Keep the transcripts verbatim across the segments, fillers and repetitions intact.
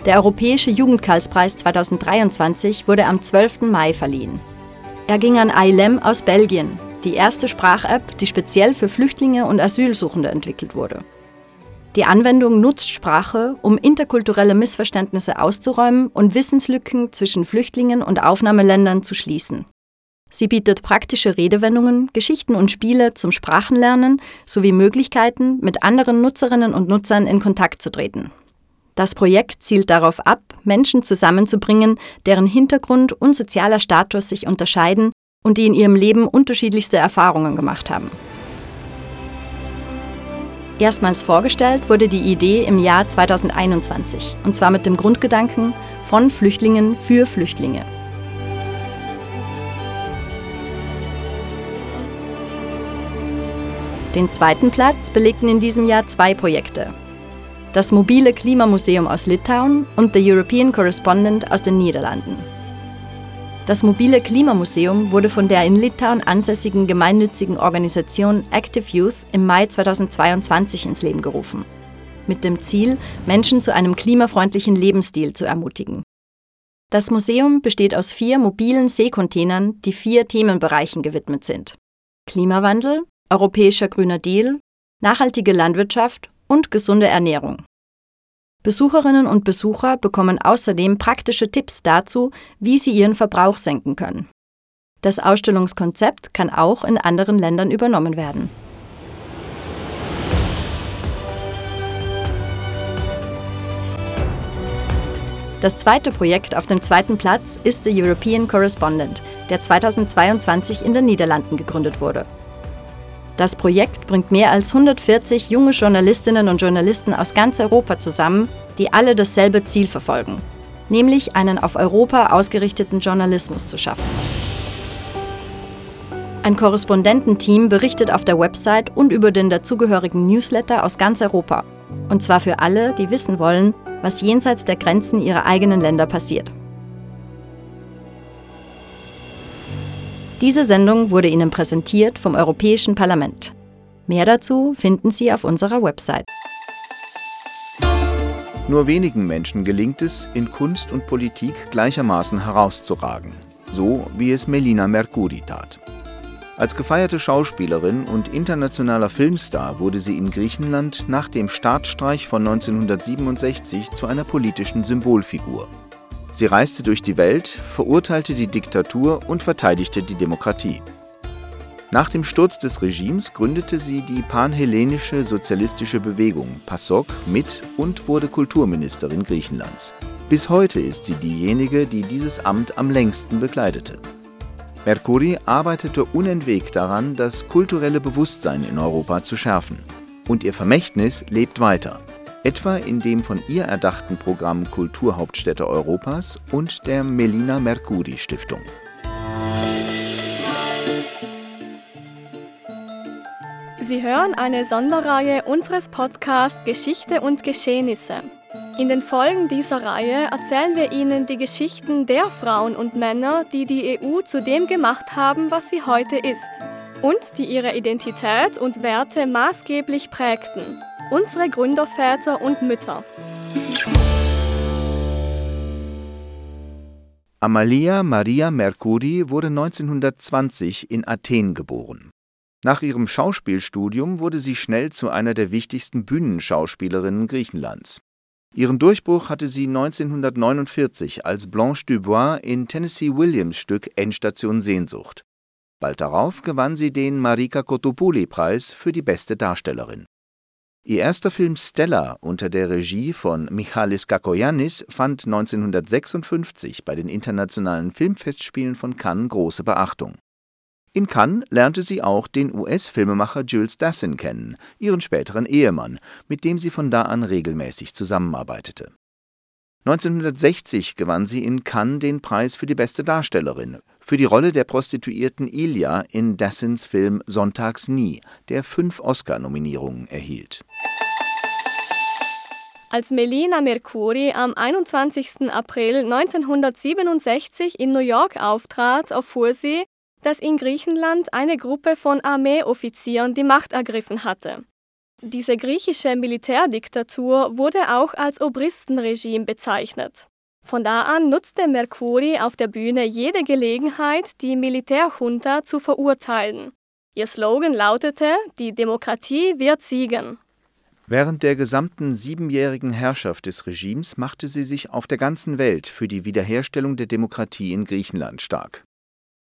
Der Europäische Jugendkarlspreis zweitausenddreiundzwanzig wurde am zwölften Mai verliehen. Er ging an Ailem aus Belgien, die erste Sprach-App, die speziell für Flüchtlinge und Asylsuchende entwickelt wurde. Die Anwendung nutzt Sprache, um interkulturelle Missverständnisse auszuräumen und Wissenslücken zwischen Flüchtlingen und Aufnahmeländern zu schließen. Sie bietet praktische Redewendungen, Geschichten und Spiele zum Sprachenlernen sowie Möglichkeiten, mit anderen Nutzerinnen und Nutzern in Kontakt zu treten. Das Projekt zielt darauf ab, Menschen zusammenzubringen, deren Hintergrund und sozialer Status sich unterscheiden und die in ihrem Leben unterschiedlichste Erfahrungen gemacht haben. Erstmals vorgestellt wurde die Idee im Jahr zweitausendeinundzwanzig, und zwar mit dem Grundgedanken von Flüchtlingen für Flüchtlinge. Den zweiten Platz belegten in diesem Jahr zwei Projekte. Das mobile Klimamuseum aus Litauen und The European Correspondent aus den Niederlanden. Das mobile Klimamuseum wurde von der in Litauen ansässigen gemeinnützigen Organisation Active Youth im Mai zweitausendzweiundzwanzig ins Leben gerufen. Mit dem Ziel, Menschen zu einem klimafreundlichen Lebensstil zu ermutigen. Das Museum besteht aus vier mobilen Seekontainern, die vier Themenbereichen gewidmet sind: Klimawandel, Europäischer Grüner Deal, nachhaltige Landwirtschaft und gesunde Ernährung. Besucherinnen und Besucher bekommen außerdem praktische Tipps dazu, wie sie ihren Verbrauch senken können. Das Ausstellungskonzept kann auch in anderen Ländern übernommen werden. Das zweite Projekt auf dem zweiten Platz ist The European Correspondent, der zweitausendzweiundzwanzig in den Niederlanden gegründet wurde. Das Projekt bringt mehr als hundertvierzig junge Journalistinnen und Journalisten aus ganz Europa zusammen, die alle dasselbe Ziel verfolgen, nämlich einen auf Europa ausgerichteten Journalismus zu schaffen. Ein Korrespondententeam berichtet auf der Website und über den dazugehörigen Newsletter aus ganz Europa. Und zwar für alle, die wissen wollen, was jenseits der Grenzen ihrer eigenen Länder passiert. Diese Sendung wurde Ihnen präsentiert vom Europäischen Parlament. Mehr dazu finden Sie auf unserer Website. Nur wenigen Menschen gelingt es, in Kunst und Politik gleichermaßen herauszuragen, so wie es Melina Mercouri tat. Als gefeierte Schauspielerin und internationaler Filmstar wurde sie in Griechenland nach dem Staatsstreich von neunzehnhundertsiebenundsechzig zu einer politischen Symbolfigur. Sie reiste durch die Welt, verurteilte die Diktatur und verteidigte die Demokratie. Nach dem Sturz des Regimes gründete sie die Panhellenische Sozialistische Bewegung, PASOK, mit und wurde Kulturministerin Griechenlands. Bis heute ist sie diejenige, die dieses Amt am längsten bekleidete. Mercouri arbeitete unentwegt daran, das kulturelle Bewusstsein in Europa zu schärfen. Und ihr Vermächtnis lebt weiter. Etwa in dem von ihr erdachten Programm Kulturhauptstädte Europas und der Melina Mercouri Stiftung. Sie hören eine Sonderreihe unseres Podcasts Geschichte und Geschehnisse. In den Folgen dieser Reihe erzählen wir Ihnen die Geschichten der Frauen und Männer, die die E U zu dem gemacht haben, was sie heute ist und die ihre Identität und Werte maßgeblich prägten. Unsere Gründerväter und Mütter. Amalia Maria Mercouri wurde neunzehnhundertzwanzig in Athen geboren. Nach ihrem Schauspielstudium wurde sie schnell zu einer der wichtigsten Bühnenschauspielerinnen Griechenlands. Ihren Durchbruch hatte sie neunzehnhundertneunundvierzig als Blanche Dubois in Tennessee Williams Stück Endstation Sehnsucht. Bald darauf gewann sie den Marika Kotopoulo-Preis für die beste Darstellerin. Ihr erster Film Stella unter der Regie von Michalis Kakoyannis fand neunzehnhundertsechsundfünfzig bei den internationalen Filmfestspielen von Cannes große Beachtung. In Cannes lernte sie auch den U S-Filmemacher Jules Dassin kennen, ihren späteren Ehemann, mit dem sie von da an regelmäßig zusammenarbeitete. Neunzehnhundertsechzig gewann sie in Cannes den Preis für die beste Darstellerin, für die Rolle der Prostituierten Ilia in Dassins Film Sonntags nie, der fünf Oscar-Nominierungen erhielt. Als Melina Mercouri am einundzwanzigsten April neunzehnhundertsiebenundsechzig in New York auftrat, erfuhr sie, dass in Griechenland eine Gruppe von Armeeoffizieren die Macht ergriffen hatte. Diese griechische Militärdiktatur wurde auch als Obristenregime bezeichnet. Von da an nutzte Mercouri auf der Bühne jede Gelegenheit, die Militärjunta zu verurteilen. Ihr Slogan lautete: Die Demokratie wird siegen. Während der gesamten siebenjährigen Herrschaft des Regimes machte sie sich auf der ganzen Welt für die Wiederherstellung der Demokratie in Griechenland stark.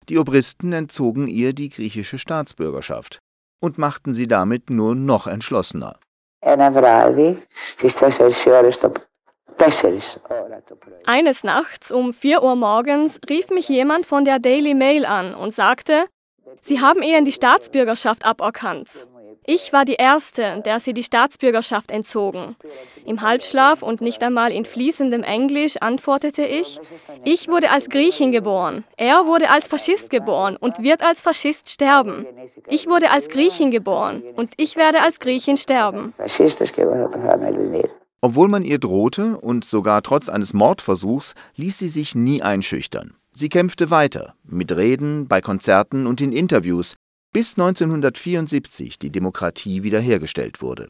Die Obristen entzogen ihr die griechische Staatsbürgerschaft und machten sie damit nur noch entschlossener. Eines Nachts um vier Uhr morgens rief mich jemand von der Daily Mail an und sagte, Sie haben ihnen die Staatsbürgerschaft aberkannt. Ich war die Erste, der sie die Staatsbürgerschaft entzogen. Im Halbschlaf und nicht einmal in fließendem Englisch antwortete ich, ich wurde als Griechin geboren, er wurde als Faschist geboren und wird als Faschist sterben. Ich wurde als Griechin geboren und ich werde als Griechin sterben. Obwohl man ihr drohte und sogar trotz eines Mordversuchs, ließ sie sich nie einschüchtern. Sie kämpfte weiter, mit Reden, bei Konzerten und in Interviews, bis neunzehnhundertvierundsiebzig die Demokratie wiederhergestellt wurde.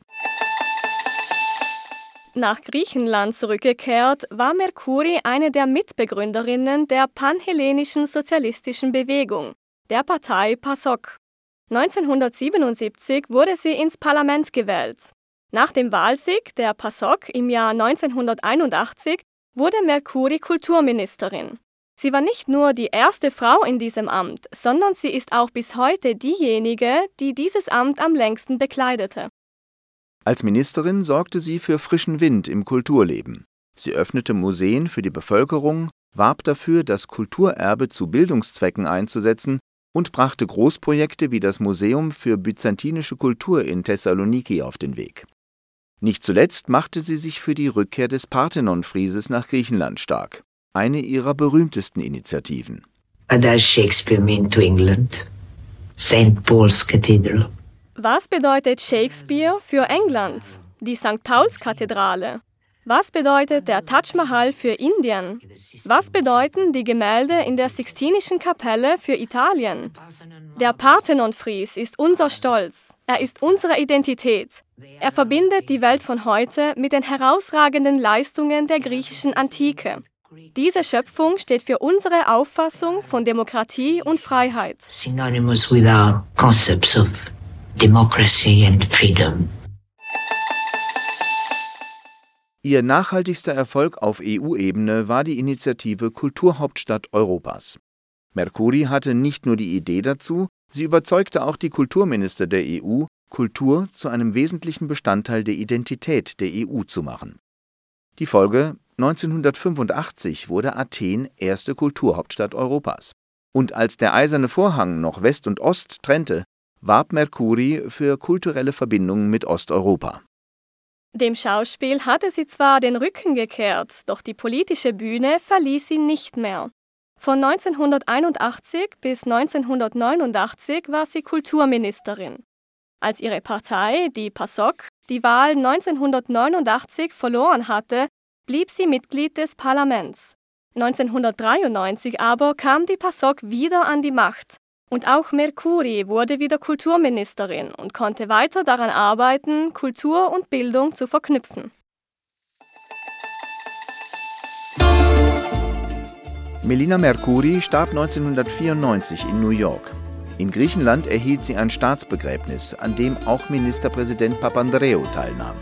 Nach Griechenland zurückgekehrt, war Mercouri eine der Mitbegründerinnen der panhellenischen sozialistischen Bewegung, der Partei PASOK. neunzehnhundertsiebenundsiebzig wurde sie ins Parlament gewählt. Nach dem Wahlsieg der PASOK im Jahr neunzehnhunderteinundachtzig wurde Mercouri Kulturministerin. Sie war nicht nur die erste Frau in diesem Amt, sondern sie ist auch bis heute diejenige, die dieses Amt am längsten bekleidete. Als Ministerin sorgte sie für frischen Wind im Kulturleben. Sie öffnete Museen für die Bevölkerung, warb dafür, das Kulturerbe zu Bildungszwecken einzusetzen und brachte Großprojekte wie das Museum für byzantinische Kultur in Thessaloniki auf den Weg. Nicht zuletzt machte sie sich für die Rückkehr des Parthenon-Frieses nach Griechenland stark. Eine ihrer berühmtesten Initiativen. What does Shakespeare mean to England? Saint Paul's Cathedral. Was bedeutet Shakespeare für England? Die Sankt Pauls-Kathedrale. Was bedeutet der Taj Mahal für Indien? Was bedeuten die Gemälde in der Sixtinischen Kapelle für Italien? Der Parthenon-Fries ist unser Stolz. Er ist unsere Identität. Er verbindet die Welt von heute mit den herausragenden Leistungen der griechischen Antike. Diese Schöpfung steht für unsere Auffassung von Demokratie und Freiheit. Synonymous with our concepts of democracy and freedom. Ihr nachhaltigster Erfolg auf E U-Ebene war die Initiative Kulturhauptstadt Europas. Mercouri hatte nicht nur die Idee dazu, sie überzeugte auch die Kulturminister der E U, Kultur zu einem wesentlichen Bestandteil der Identität der E U zu machen. Die Folge: neunzehnhundertfünfundachtzig wurde Athen erste Kulturhauptstadt Europas. Und als der Eiserne Vorhang noch West und Ost trennte, warb Mercouri für kulturelle Verbindungen mit Osteuropa. Dem Schauspiel hatte sie zwar den Rücken gekehrt, doch die politische Bühne verließ sie nicht mehr. Von neunzehnhunderteinundachtzig bis neunzehnhundertneunundachtzig war sie Kulturministerin. Als ihre Partei, die PASOK, die Wahl neunzehnhundertneunundachtzig verloren hatte, blieb sie Mitglied des Parlaments. neunzehnhundertdreiundneunzig aber kam die PASOK wieder an die Macht. Und auch Mercouri wurde wieder Kulturministerin und konnte weiter daran arbeiten, Kultur und Bildung zu verknüpfen. Melina Mercouri starb neunzehnhundertvierundneunzig in New York. In Griechenland erhielt sie ein Staatsbegräbnis, an dem auch Ministerpräsident Papandreou teilnahm.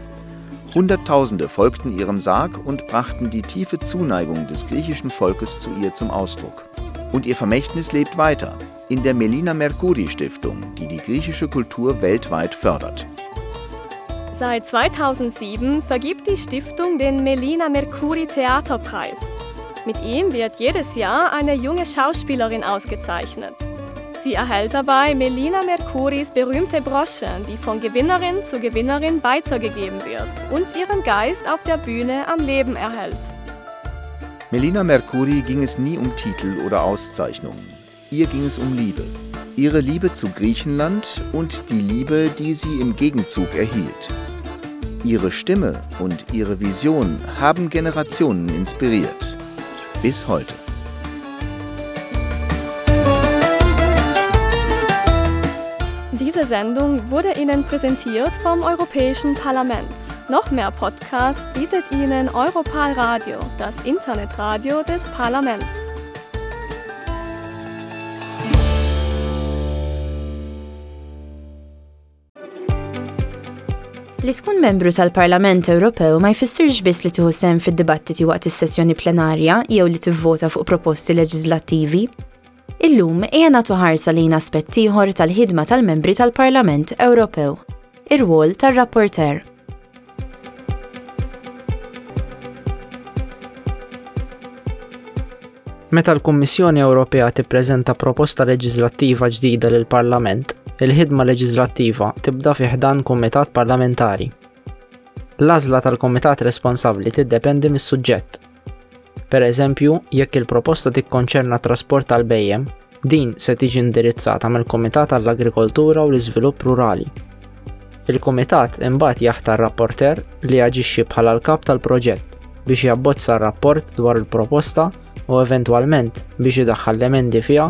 Hunderttausende folgten ihrem Sarg und brachten die tiefe Zuneigung des griechischen Volkes zu ihr zum Ausdruck. Und ihr Vermächtnis lebt weiter in der Melina Mercouri Stiftung, die die griechische Kultur weltweit fördert. Seit zweitausendsieben vergibt die Stiftung den Melina Mercouri Theaterpreis. Mit ihm wird jedes Jahr eine junge Schauspielerin ausgezeichnet. Sie erhält dabei Melina Mercouris berühmte Brosche, die von Gewinnerin zu Gewinnerin weitergegeben wird und ihren Geist auf der Bühne am Leben erhält. Melina Mercouri ging es nie um Titel oder Auszeichnungen. Ihr ging es um Liebe. Ihre Liebe zu Griechenland und die Liebe, die sie im Gegenzug erhielt. Ihre Stimme und ihre Vision haben Generationen inspiriert. Bis heute. Diese Diese Sendung wurde Ihnen präsentiert vom Europäischen Parlament. Noch mehr Podcasts bietet Ihnen Europal Radio, das Internetradio des Parlaments. Li tkun membru tal-Parlament Ewropew ma jfissirx biss li tieħu sehem fid-dibattiti waqt is-sessjoni plenarja jew li tivvota fuq proposti leġislattivi. Illum ejja nagħtu ħarsa lejn aspett ieħor tal-ħidma tal-membri tal-Parlament Ewropew, ir-rwol tar-rapporteur. Meta l-Kummissjoni Ewropea tippreżenta proposta leġislattiva ġdida lill-Parlament, il-ħidma leġislattiva tibda fi ħdan kumitat parlamentari. L-għażla tal-kumitat responsabbli tiddependi mis-suġġett. Per eżempju, jekk il-proposta tikkonċerna trasport tal-bhejjem, din se tiġi indirizzata mill-Kumitat għall-Agrikoltura u l-Iżvilupp Rurali. Il-Kumitat imbagħad jaħtar rapporter li jaġixxi bħala l-kap tal-proġett biex jabbozza r-rapport dwar il-proposta u eventwalment biex idaħħal l-emendi fiha,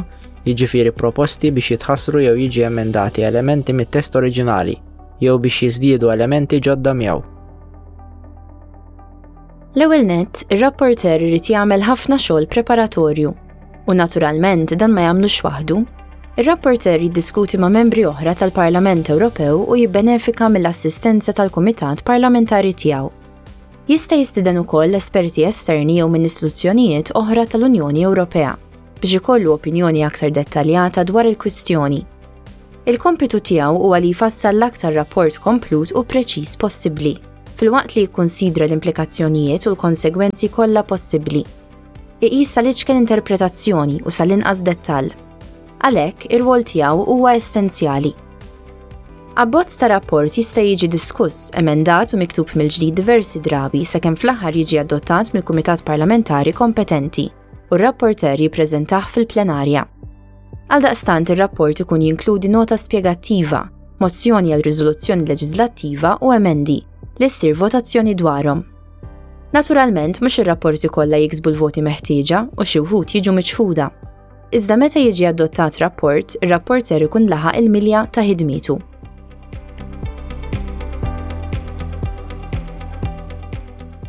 jiġifieri proposti biex jitħassru jew jiġi emendati elementi mit-test oriġinali jew biex jiżdiedu elementi ġodda miegħu. L-ewwel nett, ir-rapporter irid jagħmel ħafna xogħol preparatorju u naturalment dan ma jagħmlux waħdu. Ir-rapporter jiddiskuti ma' membri oħra tal-Parlament Ewropew u jibbenefika mill-assistenza tal-Kumitat Parlamentari tiegħu. Jista' jistieden ukoll esperti esterni jew minn istituzzjonijiet oħra tal-Unjoni Ewropea biex ikollu opinjoni aktar dettaljata dwar il-kwistjoni. Il-kompitu tiegħu huwa li jfassal l-aktar rapport komplut u preċiż possibbli, filwaqt li jikkunsidra l-implikazzjonijiet u l-konsegwenzi kollha possibbli. Iqis sal-iċken interpretazzjoni u sal-inqas dettall. Għalhekk, ir-rwol tiegħu huwa essenzjali. Abbozz ta' rapport jista' jiġi diskuss, emendat u miktub mill-ġdid diversi drabi sakemm fl-aħħar jiġi adottat mill-Kumitat Parlamentari kompetenti u r-rapporter jippreżentah fil-plenarja. Għaldaqstant ir-rapport ikun jinkludi nota spjegattiva, mozzjoni għal riżoluzzjoni leġislattiva u emendi li ssir votazzjoni dwarhom. Naturalment, mhux ir-rapporti kollha jiksbu l-voti meħtieġa u xi wħud jiġu miċħuda. Iżda meta jiġi adottat rapport, ir-rapporter ikun laħaq il-milja ta' ħidmietu.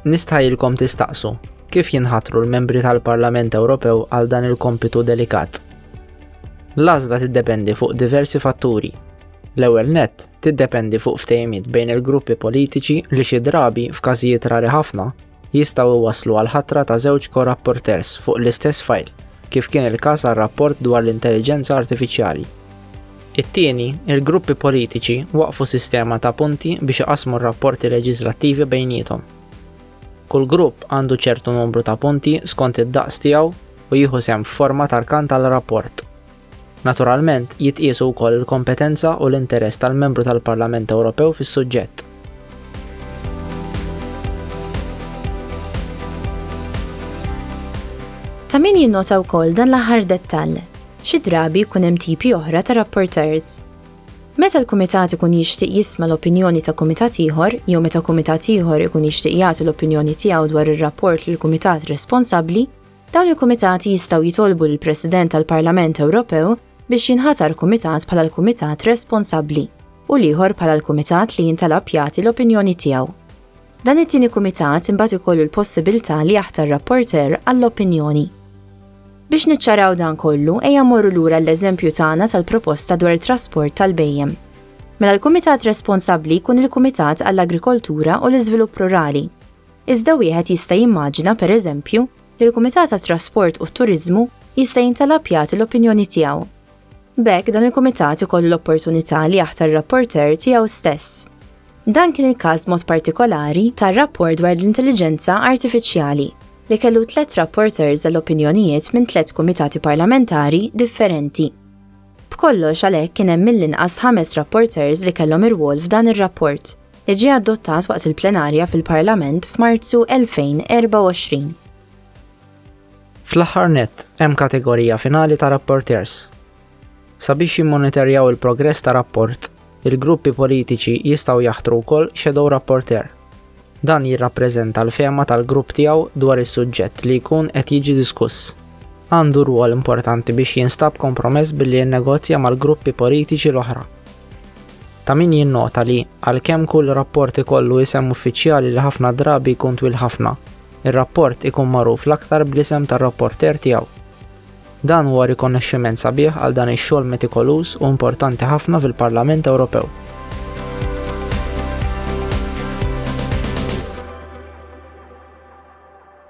Nistħajjilkom tistaqsu kif jinħatru l-membri tal-Parlament Ewropew għal dan il-kompitu delikat. L-għażla tiddependi fuq diversi fatturi. L-ewwel nett tiddependi fuq ftehimiet bejn il-gruppi politiċi li xi drabi f'każijiet rari ħafna jistgħu iwasslu għal ħatra ta' żewġ co-rapporteurs fuq l-istess fajl, kif kien il-każ għar-rapport dwar l-intelligenza artifiċjali. It-tieni, il-gruppi politiċi waqfu sistema ta' punti biex iqassmu r-rapporti leġislattivi bejniethom. Kull grupp għandu ċertu numru ta' punti skont id-daqs tiegħu u jieħu sehem f'forma ta' rkan tal-rapport. Naturalment, jitqiesu wkoll il-kompetenza u l-interess tal-membru tal-Parlament Ewropew fis-suġġett. Ta' min jinnota wkoll dan l-aħħar dettall. Xi drabi jkun hemm tipi oħra ta' rapporteurs. Meta l-kumitat ikun jixtieq jisma' l-opinjoni ta' kumitat ieħor jew meta kumitat ieħor ikun jixtieq jagħti l-opinjoni tiegħu dwar ir-rapport lil kumitat responsabbli, dawn il-kumitati jistgħu jitolbu lill-President tal-Parlament Ewropew biex jinħatar kumitat bħala l-kumitat responsabbli u l-ieħor bħala l-kumitat li jintalab jagħti l-opinjoni tiegħu. Dan it-tieni kumitat imbagħad ikollu l-possibilità li jaħtar rapporter għall-opinjoni. Biex niċċaraw dan kollu, ejja mmorru lura l-eżempju tagħna tal-proposta dwar it-trasport tal-bhejjem. Mela l-kumitat responsabbli jkun il-Kumitat għall-Agrikoltura u l-Iżvilupp Rurali. Iżda wieħed jista' jimmaġina pereżempju li l-Kumitat għat-Trasport u t-Turiżmu jista' jintalab jagħti l-opinjoni tiegħu. B'hekk dan il-kumitat ikollu l-opportunità li jaħtar rapporter tiegħu stess. Dan kien il-każ mod partikolari tar-rapport dwar l-intelligenza artifiċjali li kellu tliet rapporters għall-opinjonijiet minn tliet kumitati parlamentari differenti. B'kollox għalhekk kien hemm mill-inqas ħames rapporters li kellhom irwol f'dan ir-rapport li ġie adottat waqt il-plenarja fil-Parlament f'Marzu elfejn erbgħa u għoxrin. Fl-aħħar nett hemm kategorija finali ta' rapporters. Sabiex jimmonitorjaw il-progress ta' rapport, il-gruppi politiċi jistgħu jaħtru wkoll shadow rapporteur. Dan jirrappreżenta l-fehma tal-grupp tiegħu dwar is-suġġett li jkun qed jiġi diskuss. Għandu rwol importanti biex jinstab kompromess billi jinnegozja mal-gruppi politiċi l-oħra. Ta' min jinnota li għalkemm kull rapport ikollu isem uffiċjali li ħafna drabi jkun twil ħafna, ir-rapport ikun magħruf l-aktar bl-isem tar-rapporter tiegħu. Dan huwa rikonoxximent sabiħ għal dan ix-xogħol metikoluż u importanti ħafna fil-Parlament Ewropew.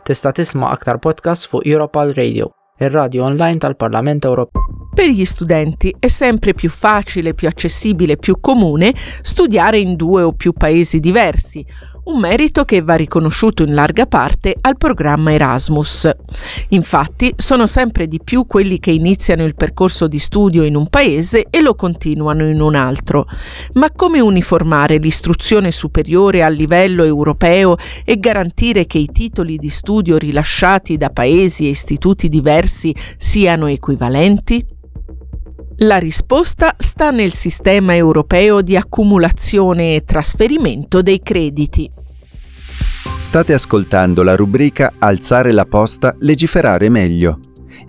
Tista' tisma' aktar podcast fuq Europal Radio, ir-radio online tal-Parlament Ewropew. Per gli studenti è sempre più facile, più accessibile, più comune studiare in due o più paesi diversi, un merito che va riconosciuto in larga parte al programma Erasmus. Infatti, sono sempre di più quelli che iniziano il percorso di studio in un paese e lo continuano in un altro. Ma come uniformare l'istruzione superiore a livello europeo e garantire che i titoli di studio rilasciati da paesi e istituti diversi siano equivalenti? La risposta sta nel sistema europeo di accumulazione e trasferimento dei crediti. State ascoltando la rubrica Alzare la posta, legiferare meglio.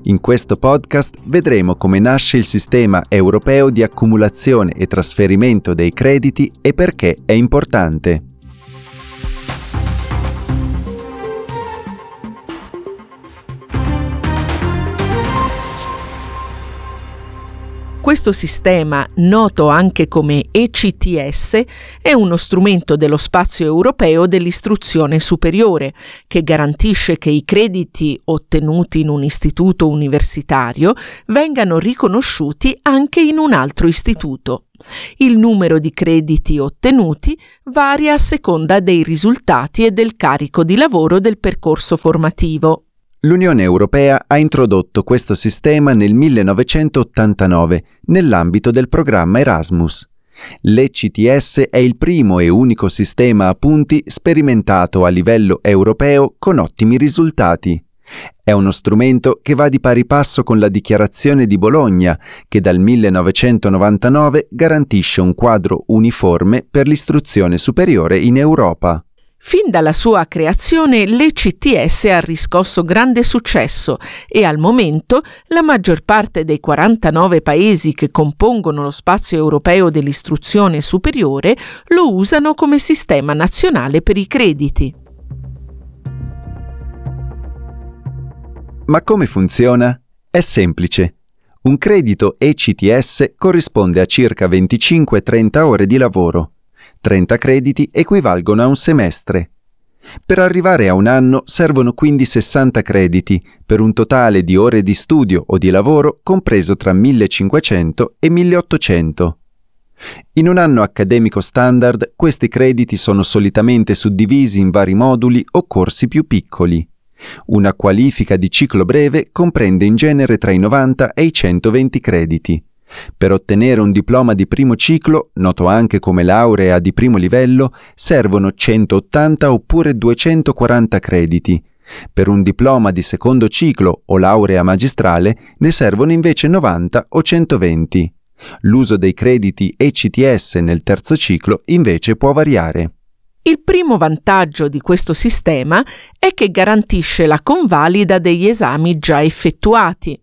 In questo podcast vedremo come nasce il sistema europeo di accumulazione e trasferimento dei crediti e perché è importante. Questo sistema, noto anche come E C T S, è uno strumento dello spazio europeo dell'istruzione superiore che garantisce che i crediti ottenuti in un istituto universitario vengano riconosciuti anche in un altro istituto. Il numero di crediti ottenuti varia a seconda dei risultati e del carico di lavoro del percorso formativo. L'Unione Europea ha introdotto questo sistema nel millenovecentottantanove nell'ambito del programma Erasmus. L'E C T S è il primo e unico sistema a punti sperimentato a livello europeo con ottimi risultati. È uno strumento che va di pari passo con la Dichiarazione di Bologna, che dal millenovecentonovantanove garantisce un quadro uniforme per l'istruzione superiore in Europa. Fin dalla sua creazione l'E C T S ha riscosso grande successo e al momento la maggior parte dei quarantanove paesi che compongono lo spazio europeo dell'istruzione superiore lo usano come sistema nazionale per i crediti. Ma come funziona? È semplice. Un credito E C T S corrisponde a circa venticinque trenta ore di lavoro. trenta crediti equivalgono a un semestre. Per arrivare a un anno servono quindi sessanta crediti, per un totale di ore di studio o di lavoro compreso tra millecinquecento e milleottocento. In un anno accademico standard questi crediti sono solitamente suddivisi in vari moduli o corsi più piccoli. Una qualifica di ciclo breve comprende in genere tra i novanta e i centoventi crediti. Per ottenere un diploma di primo ciclo, noto anche come laurea di primo livello, servono centottanta oppure duecentoquaranta crediti. Per un diploma di secondo ciclo o laurea magistrale ne servono invece novanta o centoventi. L'uso dei crediti E C T S nel terzo ciclo invece può variare. Il primo vantaggio di questo sistema è che garantisce la convalida degli esami già effettuati.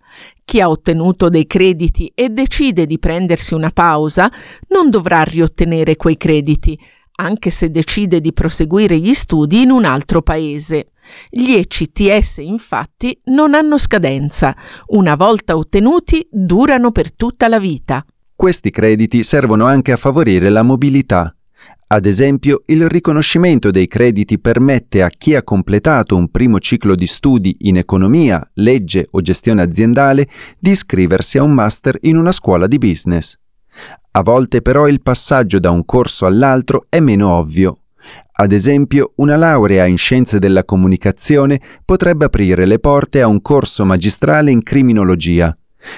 Chi ha ottenuto dei crediti e decide di prendersi una pausa non dovrà riottenere quei crediti, anche se decide di proseguire gli studi in un altro paese. Gli E C T S, infatti, non hanno scadenza. Una volta ottenuti, durano per tutta la vita. Questi crediti servono anche a favorire la mobilità. Ad esempio, il riconoscimento dei crediti permette a chi ha completato un primo ciclo di studi in economia, legge o gestione aziendale di iscriversi a un master in una scuola di business. A volte però il passaggio da un corso all'altro è meno ovvio. Ad esempio, una laurea in scienze della comunicazione potrebbe aprire le porte a un corso magistrale in criminologia.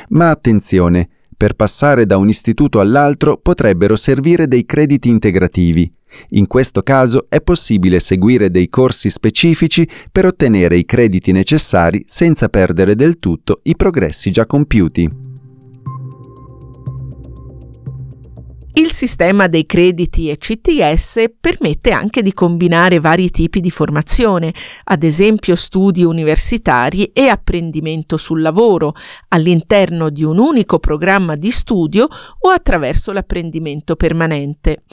Ma attenzione! Per passare da un istituto all'altro potrebbero servire dei crediti integrativi. In questo caso è possibile seguire dei corsi specifici per ottenere i crediti necessari senza perdere del tutto i progressi già compiuti. Il sistema dei crediti E C T S permette anche di combinare vari tipi di formazione, ad esempio studi universitari e apprendimento sul lavoro, all'interno di un unico programma di studio o attraverso l'apprendimento permanente.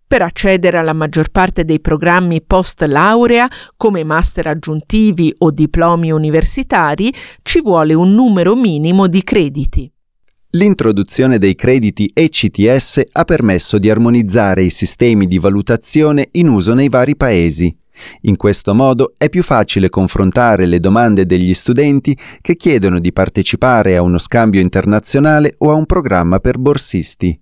Per accedere alla maggior parte dei programmi post laurea, come master aggiuntivi o diplomi universitari, ci vuole un numero minimo di crediti. L'introduzione dei crediti E C T S ha permesso di armonizzare i sistemi di valutazione in uso nei vari paesi. In questo modo è più facile confrontare le domande degli studenti che chiedono di partecipare a uno scambio internazionale o a un programma per borsisti.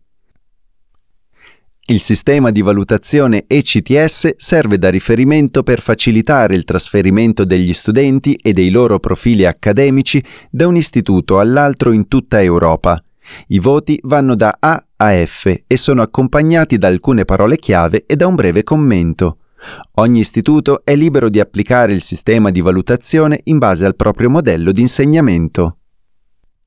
Il sistema di valutazione E C T S serve da riferimento per facilitare il trasferimento degli studenti e dei loro profili accademici da un istituto all'altro in tutta Europa. I voti vanno da A a F e sono accompagnati da alcune parole chiave e da un breve commento. Ogni istituto è libero di applicare il sistema di valutazione in base al proprio modello di insegnamento.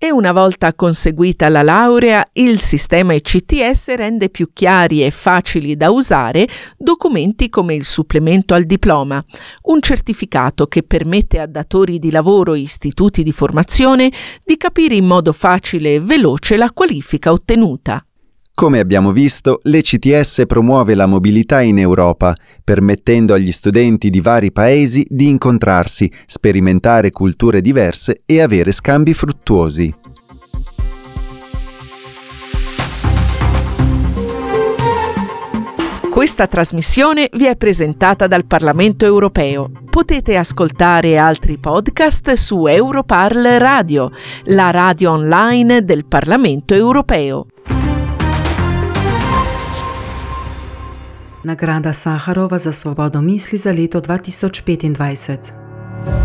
E una volta conseguita la laurea, il sistema E C T S rende più chiari e facili da usare documenti come il supplemento al diploma, un certificato che permette a datori di lavoro e istituti di formazione di capire in modo facile e veloce la qualifica ottenuta. Come abbiamo visto, l'E C T S promuove la mobilità in Europa, permettendo agli studenti di vari paesi di incontrarsi, sperimentare culture diverse e avere scambi fruttuosi. Questa trasmissione vi è presentata dal Parlamento europeo. Potete ascoltare altri podcast su Europarl Radio, la radio online del Parlamento europeo. Nagrada Saharova za svobodo misli za leto dva tisoč petindvajset.